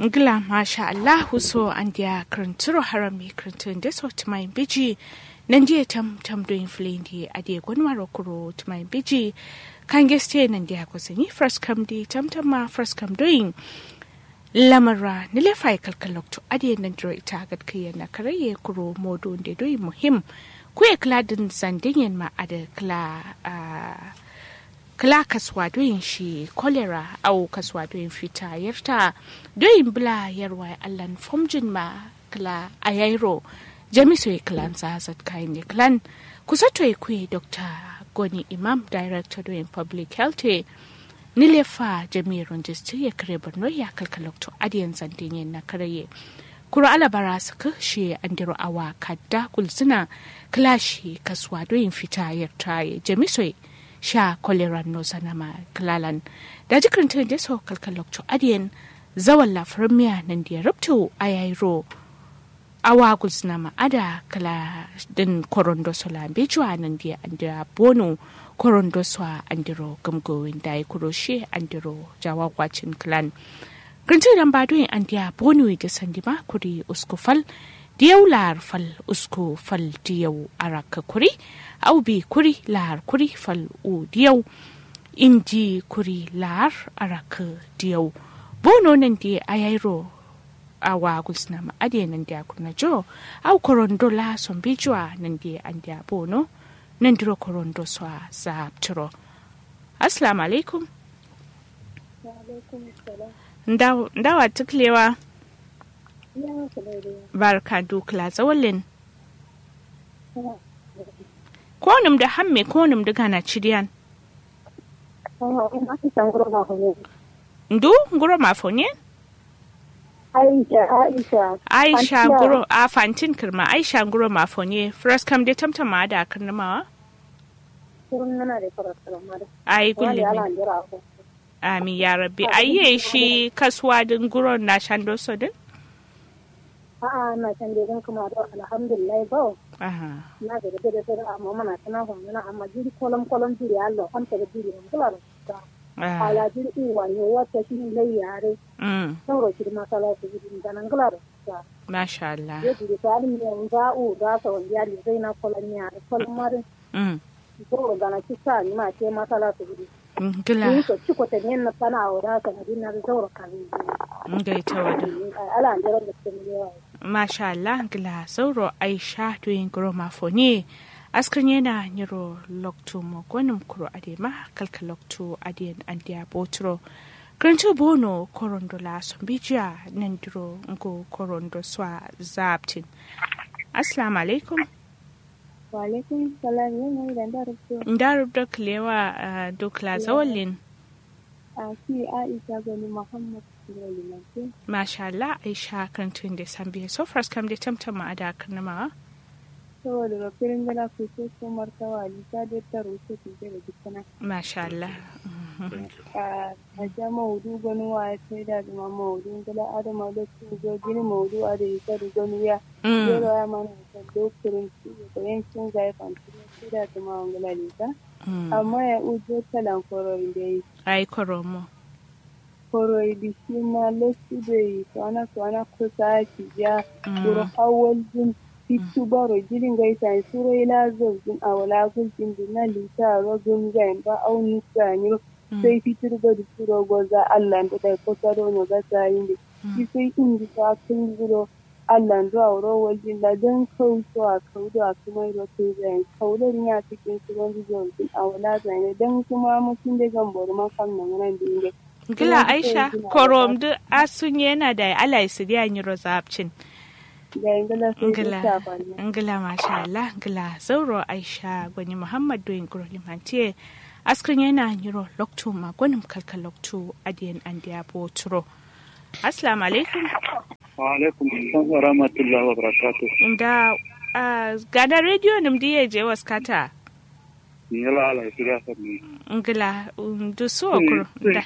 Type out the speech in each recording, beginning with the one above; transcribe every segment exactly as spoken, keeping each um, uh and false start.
Ngla masha allahu so andeya kǝrǝntǝro harami kǝrǝntǝ ndeso tǝmayin biji. Nandiye tam tam doyin fǝlindi adiye gonumaro kuro tǝmayin biji. Kange site nandeya gozǝni fǝraskam di tam tam ma fǝraskam doyin. Lamara nǝlefa ye kalkal loktu adiye nandiro ita gadkǝyen na karaye kuro modu nde doyin muhim. Kuye kǝla dǝn zandinyen ma adǝ kǝla. Kǝla kasuwa doyin shi kolera au kasuwa doyin fita yerta. Doyin bǝla yerwa ye allan fomjin ma kǝla ayairo. Jamiso ye kǝlan za zatkayin ye kǝlan. Kusoto ye kuye dokta goni imam director doyin public health ye. Nǝlefa jamiye ronjistǝ ye kǝre borno ya kalkal loktu adiyen zandinyen na karaye. Kuro alabara sǝkǝ shiye andiro awa kadda gulzǝna. Kǝla shi kasuwa doyin fita yerta ye jamiso ye. Sha koleran no sanama kǝlalan. Daji kǝrǝntǝ ndeso kalkal loktu adiyen. Zawalla fǝrǝmmiya nandiye rubtu ayairo. Awa gulzǝnama ada kǝla. Dǝn korondo sola mbejuwa nandiye andeya bono. Korondo sowa andiro gǝmgowin dayi kuro shiye andiro jawakwacin kǝlan. Kǝrǝntǝ damba doyin andeya bono ye dǝ sandima kuri usku fal. Diyau lahar fal usku fal diyau arakǝ kuri. Au bi kuri lahar kuri fal u diyau. Indi kuri lahar arakǝ diyau. Bono nandi ayairo. Awa gulsǝnama adiye nandiya kurna jo. Au korondo la sombejuwa nandiye andeya bono. Nandiro korondo sowa zaabtǝro. Assalamu alaikum. Ndawa tuklewa. Barka dukla zawalin. Konum da hamme konum da gana cidiyan. Ndu nguro mafonye. Aisha aisha. Aisha nguro a fantin kirma aisha nguro mafonye firaskam de tamtama da kirnimawa. Ai gullumin. Amin ya rabbi ai ye shi kasuwa din guron na shando so din. A'a na shando din kuma do alhamdulillah ba. Aha. Na ga da da da amma mana tana ho na amma jiri kolom kolom jiri Allah kan ta jiri mun kula da. Ala jiri uwa ne wata shi ne lai yare. Mm. Sauro shi masala su jiri da nan kula da. Masha Allah. Ye jiri ta ni mun ga u da sa wani ya ni zai na kolom ya kolom marin. Mm. Zauro gana ci sa ni ma te masala su gudu. Ngla. Ni so ci ko te ni na sana o da sana din na zauro kan. Ngai ta wada. Ala an jira da sun yawa. Masha Allah ngla zauro aisha to yin gro ma fo ne. Askar yana nyiro loktu mo gonum kuro adema kalka loktu adiyan andiya botro. Krantu bono korondo la sombijiya nandiro ngo korondo swa zabtin. Assalamu alaikum. Walaikum salam yau mai da nda rubdo. Nda rubdo kilewa dukla zawalin. A ki aisha gani muhammad. Masha Allah aisha kan tun da sambiya so far kam da tamtam ma ada kan nama. Saboda rafirin gana ku so so martawa ni ta da taro so ki da dukkan. Masha Allah. A ja maudu gani wa ya sai da zama maudu gala adama da su zo gini maudu a da ita da gani ya. Zero ya mana ta dokurin su da yankin zai fanti sai da zama wangala da ita. Amma ya ujo talan kororin da yi. Ai koromo. Koroyi di shi ma lessu doi suwana suwana kusa kijiya. Wuro awal din. Fitu baro jiri ngai sani suro ila zaujin awala gultin din na lita ro gumzain ba au nukka nyiro. Sai fitur bari suro goza allan da dai kosa do no gasa yinde. Shi sai indi sa kun guro. Allan do awo ro waljin la dan kau so a kau do a kǝmai ro tǝnzayin kau do rinya kǝkin sǝron dǝ zaujin awo la zayin dan kǝma mutin de gambo dǝ ma kam nangǝnan dǝ inde. Ngla aisha korom dǝ asunye na dai alai sǝdiya nyiro zaapcin. Ngla. Ngla masha Allah ngla zauro aisha goni muhammad doyin guro limantiye. Askǝnye na nyiro loktu ma gonim kalkal loktu adiyen andiya boturo. Assalamu alaikum. Wa alaikum salam wa rahmatullahi wa barakatuh. Nda gana radio nǝm diye je waskata. Ngla ala isiriya sanni. Ngla ndu suwa kuro nda.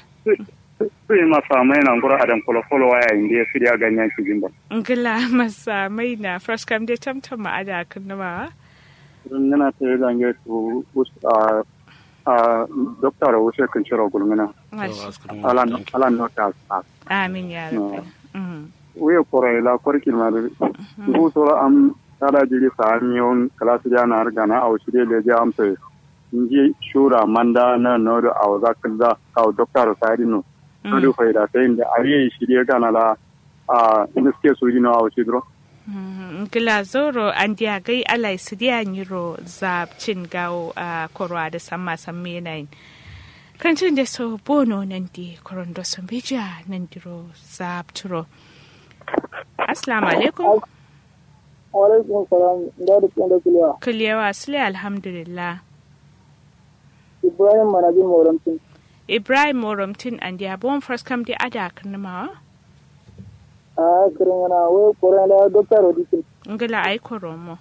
Sui masa mai na ngura adam kolo kolo waya inde siriya ganyan kijin ba. Ngla masa mai na first kam de tamtam ma ada kan nama. Ngana te gange tu us a. A dokta ro wuse kǝnciro gulmina. Alan nota. Amin ya rabbi. Wuye koro ye la korkin ma dǝ. Ngu soro am tada jiri sa'an yawun kǝla sǝdiya na har gana awo shiri lejiya amso ye. Nji shura manda na nodo awo za kǝlza kawo dokta ro sa'adin no. Nodo faida sayin dǝ awiye shiri gana la. A niske suri no awo shidiro. Ngla zoro andiya gai alai sidiya nyiro zabcin gawo a korwa da samma samme nayin. Kantin da so bono nandi korondo so mbeja nandiro zabturo. Assalamu alaikum. Alaikum salam. Nda duk nda kuliya. Kuliyawa sule alhamdulillah. Ibrahim manajin moramtin. Ibrahim moramtin andiya bon first kam di ada kirnimawa. A kirin yana wai koron da dokta rodikin. Ngila ai koromo.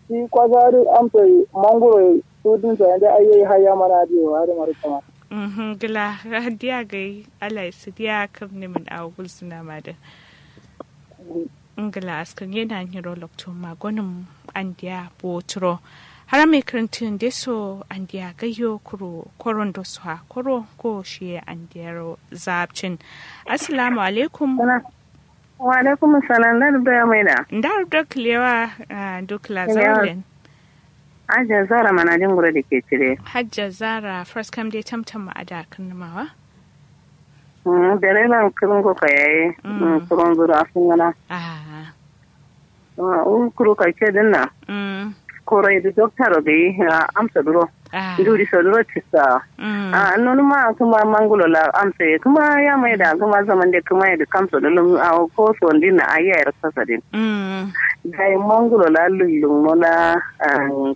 Shi kwasa duk amsa mangoro sudin sa yanda ayyai haya mana diyo hada maru kama. Mhm ngila diya gai alai su diya kirni min awo gulsuna ma da. Ngla askǝr ngena nyiro loktu magonǝm andiya boturo. Hara mai kǝrǝntǝ nde so andiya gayyo kuro korondo so ha koro ko shiye andiyaro zabcin. Assalamu alaikum. Wa alaikum salam nda rubdo ya maida. Nda rubdo kǝlewa. Ndu kǝla zaulen. Hajja zara manajin guro da ke cire. Hajja zara first kam dai tamtam ma ada kǝrnǝmawa. Dereba kǝrǝngo kayaye. Kǝrǝnzuro afǝngana. Wu kǝru kake dǝnna. Koro yedǝ dokta ro gayi. Amsa duro. Nduri so duro cissa. Nonuma kǝma mangulo la amsa ye kǝma yamai da kǝma zaman de kǝma yedǝ kamso dǝlum awo ko so ndinna ayi yayi raksa sadin. Dai mangulo la lullum no la.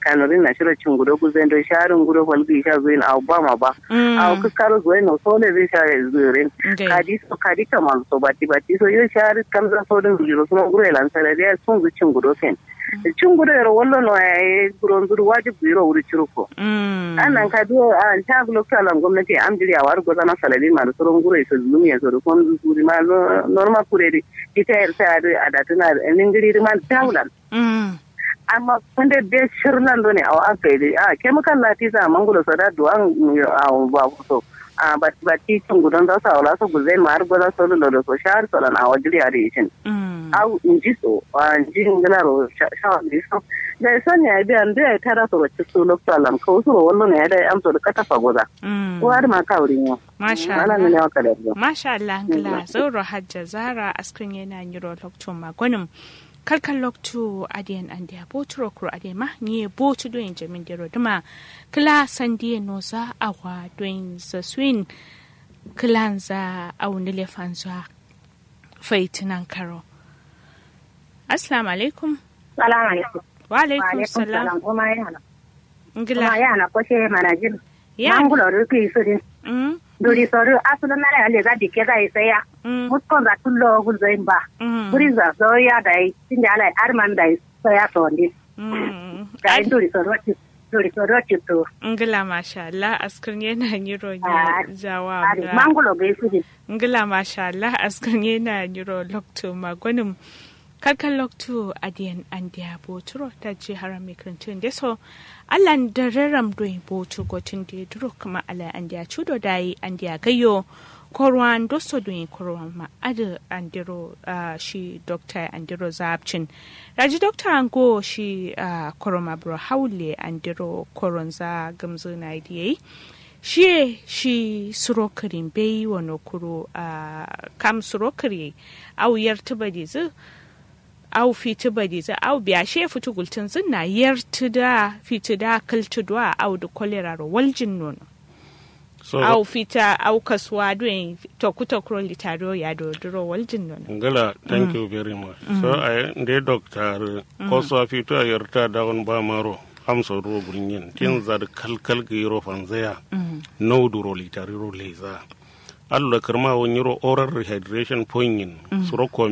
Kanorin na shiro cingudo guzen do sharin gudo falgi sha zuin awo bama ba. Awo kǝkkaro zuwai no sole zai sha zurin. Kadi so kadi kamal so bati bati so yo shari kamza so din zuro suno guro elan sarariya sun zu cingudo sen. Cingudo yero wallo no yaye guro nzuru wajib yero wuri ciruko. Annan kadi a nta loktu alan gwamnati am jiri awari gozana saladin ma da suron guro iso zulum yeso da kon zuri ma norma kuredi. Ita yar ta yadu adatuna ningiri ma tawulan. Amma kunde be shirlan done awo aka yi dai a kemikal la tisa mangulo so da duwan. Awo ba kuso. A batti batti cingudon za su awo la so gulzain ma har goza so lulo do so shahar so lan awo jiri adi ishin. Awo nji so a nji ngila ro shawar nji so. Dai son ya biya ndu ya tara so ro cisu lokto alam kawu suro wallo ne ya dai amso da katafa goza. Ko har ma kawurin yau. Masha Allah. Masha Allah ngla zauro hajja zara askun yana nyiro lokto magonim. Kalkal loktu adiyen andiya boturo kuro adiyen ma nyiye botu doyin jamin dero duma. Kǝla sandiye noza awa doyin za suyin. Kǝlanza awu nǝle fanza. Faitinan karo. Assalamu alaikum. Salamu alaikum. Wa alaikum salam. Kuma yana. Ngla. Kuma yana koshe manajin. Mangulori ki sudin. Duri soru asulu nara ya leza dike za isaya. Muskon za tullo gulzo imba. Buri za so ya dai tinde ala arman dai so ya sondi. Dai duri soru. Duri soru titu. Ngla masha Allah askar ne na nyiro ne. Jawa. Mangulo gai sudin. Ngla masha Allah askar ne na nyiro lokto magonim. Kalkal loktu adiyen andiya boturo taji haram mikrintun deso. Allan dararam doi botu gotun de duro kǝma alai andiya cudo dayi andiya gayyo. Korwan doso doi korwan ma adǝ andiro shi dokta andiro zabcin. Daji dokta ango shi koroma buro hawulle andiro koronza gǝmzǝ nayi diye. Shiye shi suro kǝrin beyi wano kuru. Kam suro kǝri ye. Awu yartǝ badizǝ. Awu fitǝ badizǝ awu biya shiye fitǝ gultǝnzǝn na yartǝ da fitǝ da kǝltǝ duwa awu dǝ kolera ro waljin nono. Awu fita awu kasuwa duwe. Toku tokuro litari o yado duro waljin nono. Ngla thank you very much. So ayi nde dokta arǝ kosuwa fito a yarta dawon ba maro. Amso duro gulnyen tinza dǝ kalkal gǝyiro fanzaya. Nau duro litari ro leza. Allo kǝrma wo nyiro oral rehydration point yin suro komi.